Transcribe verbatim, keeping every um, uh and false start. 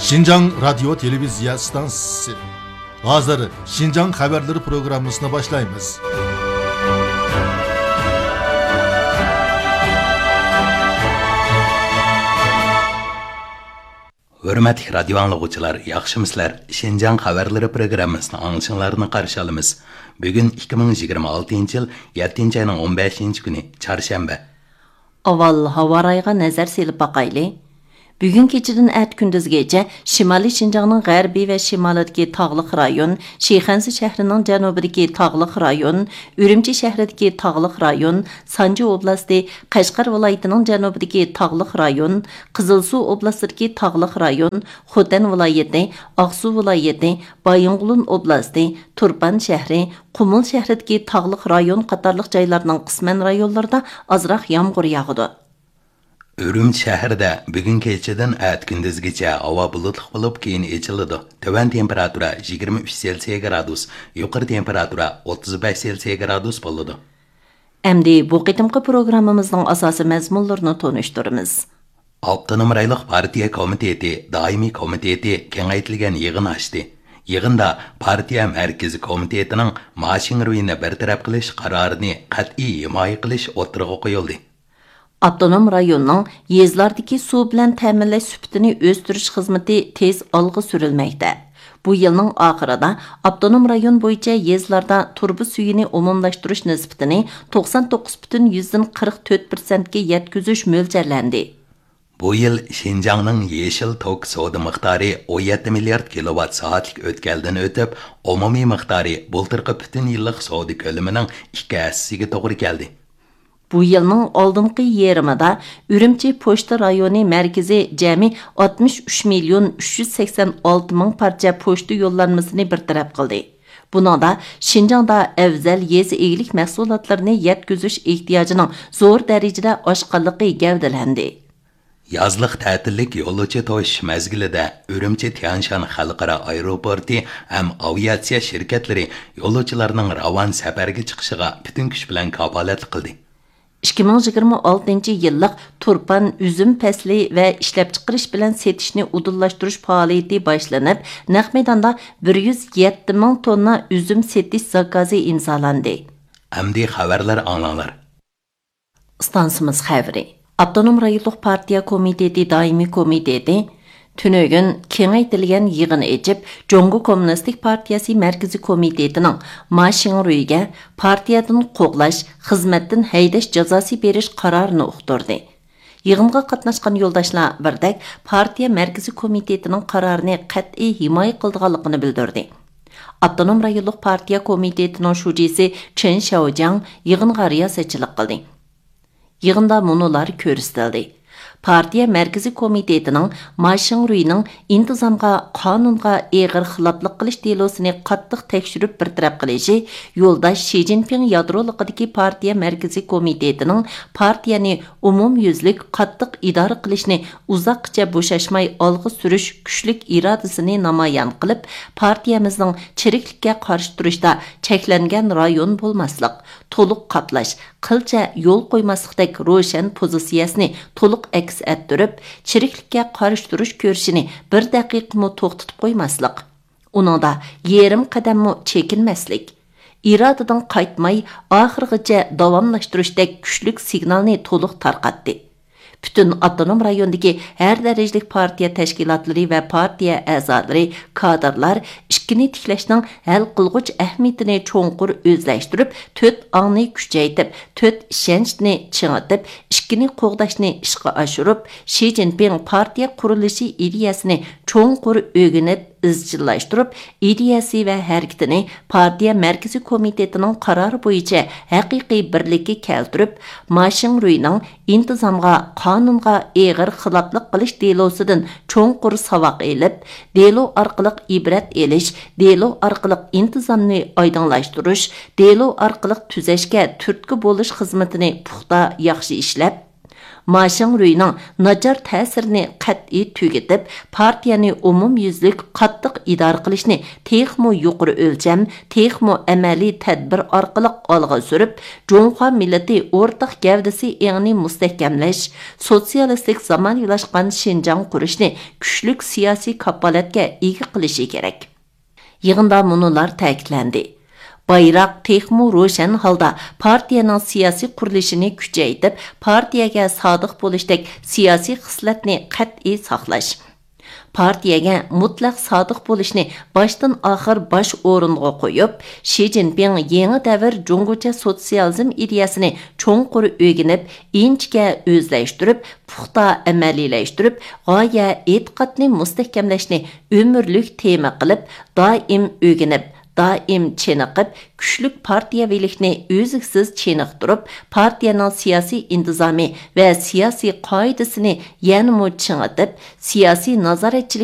شىنجاڭ رادىيو تېلېۋىزىيە ئىستانسىسى. ھازىر شىنجاڭ خەۋەرلىرى پروگراممىسىنى باشلايمىز. ھۆرمەتلىك رادىيو ئاڭلىغۇچىلار، ياخشىمۇسىلەر؟ شىنجاڭ خەۋەرلىرى پروگراممىسىنى ئاڭلىشىڭلارنى قارشى ئالىمىز. بۈگۈن ئىككى مىڭ يىگىرمە ئالتىنچى يىل يەتتىنچى ئاينىڭ ئون بەشىنچى كۈنى، چارشەنبە. ئاۋۋال ھاۋا رايىغا نەزەر سېلىپ باقايلى. بۈگۈن كېچىدىن ئەتە كۈندۈزگىچە شىمالىي شىنجاڭنىڭ غەربىي ۋە شىمالىدىكى تاغلىق رايون، شىخەنزە شەھىرىنىڭ جەنۇبىدىكى تاغلىق رايون، ئۈرۈمچى شەھىرىدىكى تاغلىق رايون، سانجى ئوبلاستى، قەشقەر ۋىلايىتىنىڭ جەنۇبىدىكى تاغلىق رايون، قىزىلسۇ ئوبلاستىدىكى تاغلىق رايون، خوتەن ۋىلايىتى، ئاقسۇ ۋىلايىتى، بايىنغولىن ئوبلاستى، تۇرپان شەھىرى، قۇمۇل شەھىرىدىكى تاغلىق رايون قاتارلىق جايلارنىڭ قىسمەن رايونلىرىدا ئازراق يامغۇر ياغىدۇ. ئۈرۈمچى شەھىرىدە بۈگۈن كېچىدىن ئەتە كۈندۈزگىچە ھاۋا بۇلۇتلۇق بولۇپ، كېيىن ئېچىلىدۇ. تۆۋەن تېمپېراتۇرا يىگىرمە ئۈچ سېلسىيە گرادۇس، يۇقىرى تېمپېراتۇرا ئوتتۇز بەش سېلسىيە گرادۇس بولىدۇ. ئەمدى بۇ قېتىمقى پروگراممىمىزنىڭ ئاساسىي مەزمۇنلىرىنى تونۇشتۇرىمىز. ئاپتونوم رايونلۇق پارتىيە كومىتېتى دائىمىي كومىتېتى كېڭەيتىلگەن يىغىن ئاچتى. يىغىندا پارتىيە مەركىزىي كومىتېتىنىڭ ما شىڭرۇينى بىر تەرەپ قىلىش قارارىنى قەتئىي ھىمايە قىلىش ئوتتۇرىغا قويۇلدى. ئاپتونوم رايوننىڭ يېزىلاردىكى سۇ بىلەن تەمىنلەش سۈپىتىنى ئۆستۈرۈش خىزمىتى تېز ئالغا سۈرۈلمەكتە. بۇ يىلنىڭ ئاخىرىدا ئاپتونوم رايون بويىچە يېزىلاردا تۇرۇبا سۈيىنى ئومۇملاشتۇرۇش نىسبىتىنى توقسان توققۇز پۈتۈن يۈزدىن قىرىق تۆت پىرسەنتكە يەتكۈزۈش مۆلچەرلەندى. بۇ يىل شىنجاڭنىڭ يېشىل توك سودا مىقدارى ئون يەتتە مىليارد كىلوۋات سائەتلىك ئۆتكەلدىن ئۆتۈپ، ئومۇمىي مىقدارى بۇلتۇرقى پۈتۈن يىللىق سودا كۆلىمىنىڭ ئىككى ھەسسىسىگە توغرا كەلدى. بۇ يىلنىڭ ئالدىنقى يېرىمىدا ئۈرۈمچى پوچتا رايونى مەركىزى جەمئىي ئاتمىش ئۈچ مىليون ئۈچ يۈز سەكسەن ئالتە مىڭ پارچە پوچتا يوللانمىسىنى بىر تەرەپ قىلدى. بۇنىڭدا شىنجاڭدا ئەۋزەل يېزا ئىگىلىك مەھسۇلاتلىرىنى يەتكۈزۈش ئېھتىياجىنىڭ زور دەرىجىدە ئاشقانلىقى گەۋدىلەندى. يازلىق تەتىللىك يولۇچى توشۇش مەزگىلىدە ئۈرۈمچى تيەنشان خەلقئارا ئايروپورتى ھەم ئاۋىئاتسىيە شىركەتلىرى يولۇچىلارنىڭ راۋان سەپەرگە چىقىشىغا پۈتۈن كۈچ بىلەن كاپالەتلىك قىلدى. ئىككى مىڭ يىگىرمە ئالتىنچى يىللىق تۇرپان ئۈزۈم پەسلى ۋە ئىشلەپچىقىرىش بىلەن سېتىشنى ئۇدۇللاشتۇرۇش پائالىيىتى باشلىنىپ، نەق مەيداندا بىر يۈز يەتتە مىڭ توننا ئۈزۈم سېتىش زاكازى ئىمزالاندى. ئەمدى خەۋەرلەر ئاڭلاڭلار. ئىستانسىمىز خەۋىرى. ئاپتونوم رايونلۇق پارتىيە كومىتېتى دائىمىي كومىتېتى تۈنۈگۈن كېڭەيتىلگەن يىغىن ئېچىپ، جۇڭگو كوممۇنىستىك پارتىيەسى مەركىزىي كومىتېتىنىڭ ما شىڭرۇيگە پارتىيەدىن قوغلاش، خىزمەتتىن ھەيدەش جازاسى بېرىش قارارىنى ئۇقتۇردى. يىغىنغا قاتناشقان يولداشلار بىردەك پارتىيە مەركىزىي كومىتېتىنىڭ قارارىنى قەتئىي ھىمايە قىلىدىغانلىقىنى بىلدۈردى. ئاپتونوم رايونلۇق پارتىيە كومىتېتىنىڭ شۇجىسى چېن شياۋجياڭ يىغىنغا رىياسەتچىلىك قىلدى. يىغىندا مۇنۇلار كۆرسىتىلدى. پارتىيە مەركىزىي كومىتېتىنىڭ ما شىڭرۇينىڭ ئىنتىزامغا، قانۇنغا ئېغىر خىلاپلىق قىلىش دېلوسىنى قاتتىق تەكشۈرۈپ بىر تەرەپ قىلىشى، يولداش شى جىنپىڭ يادرولۇقىدىكى پارتىيە مەركىزىي كومىتېتىنىڭ پارتىيەنى ئومۇميۈزلۈك قاتتىق ئىدارە قىلىشنى ئۇزاققىچە بوشاشماي ئالغا سۈرۈش كۈچلۈك ئىرادىسىنى نامايان قىلىپ، پارتىيەمىزنىڭ چىرىكلىككە قارشى تۇرۇشتا چەكلەنگەن رايون بولماسلىق، تولۇق قاپلاش، قىلچە يول قويماسلىقتەك روشەن پوزىتسىيەسىنى تولۇق ئەكس ئەتتۈرۈپ، چىرىكلىككە قارشى تۇرۇش كۈرىشىنى بىر دەقىقىمۇ توختىتىپ قويماسلىق، ئۇنىڭدا يېرىم قەدەممۇ چېكىنمەسلىك، ئىرادىدىن قايتماي، ئاخىرغىچە داۋاملاشتۇرۇشتەك كۈچلۈك سىگنالنى تولۇق تارقاتتى. پۈتۈن ئاپتونوم رايوندىكى ھەر دەرىجىلىك پارتىيە تەشكىلاتلىرى ۋە پارتىيە ئەزالىرى، كادىرلار ئىككىنى تىكلەشنىڭ ھەل قىلغۇچ ئەھمىيىتىنى چوڭقۇر ئۆزلەشتۈرۈپ، تۆت ئاڭنى كۈچەيتىپ، تۆت ئىشەنچنى چىڭىتىپ، ئىككىنى قوغداشنى ئىشقا ئاشۇرۇپ، شى جىنپىڭ پارتىيە قۇرۇلۇشى ئىدىيەسىنى چوڭقۇر ئۆگىنىپ، ئىزچىللاشتۇرۇپ، ئىدىيەسى ۋە ھەرىكىتىنى پارتىيە مەركىزىي كومىتېتىنىڭ قارارى بويىچە ھەقىقىي بىرلىككە كەلتۈرۈپ، ما شىڭرۇينىڭ ئىنتىزامغا، قانۇنغا ئېغىر خىلاپلىق قىلىش دېلوسىدىن چوڭقۇر ساۋاق ئېلىپ، دېلو ئارقىلىق ئىبرەت ئېلىش، دېلو ئارقىلىق ئىنتىزامنى ئايدىڭلاشتۇرۇش، دېلو ئارقىلىق تۈزەشكە تۈرتكە بولۇش خىزمىتىنى پۇختا، ياخشى ئىشلەپ، ما شىڭرۇينىڭ ناچار تەسىرىنى قەتئىي تۈگىتىپ، پارتىيەنى ئومۇميۈزلۈك قاتتىق ئىدارە قىلىشنى تېخىمۇ يۇقىرى ئۆلچەم، تېخىمۇ ئەمەلىي تەدبىر ئارقىلىق ئالغا سۈرۈپ، جۇڭخۇا مىللىتى ئورتاق گەۋدىسى ئېڭىنى مۇستەھكەملەش، سوتسىيالىستىك زامانىۋىلاشقان شىنجاڭ قۇرۇشنى كۈچلۈك سىياسىي كاپالەتكە ئىگە قىلىشى كېرەك. يىغىندا مۇنۇلار تەكىتلەندى: بايراق تېخىمۇ روشەن ھالدا پارتىيەنىڭ سىياسىي قۇرۇلۇشىنى كۈچەيتىپ، پارتىيەگە سادىق بولۇشتەك سىياسىي خىسلەتنى قەتئىي ساقلاش. پارتىيەگە مۇتلەق سادىق بولۇشنى باشتىن ئاخىر باش ئورۇنغا قويۇپ، شى جىنپىڭ يېڭى دەۋر جۇڭگوچە سوتسىيالىزم ئىدىيەسىنى چوڭقۇر ئۆگىنىپ، ئىنچىكە ئۆزلەشتۈرۈپ، پۇختا ئەمەلىيلەشتۈرۈپ، غايە ئېتىقادنى مۇستەھكەملەشنى ئۆمۈرلۈك تېما قىلىپ، دائىم ئۆگىنىپ، دائىم چېنىقىپ، كۈچلۈك پارتىيەۋىلىكنى ئۈزلۈكسىز چېنىقتۇرۇپ، پارتىيەنىڭ سىياسىي ئىنتىزامى ۋە سىياسىي قائىدىسىنى يەنىمۇ چىڭىتىپ، سىياسىي نازارەتچىلىك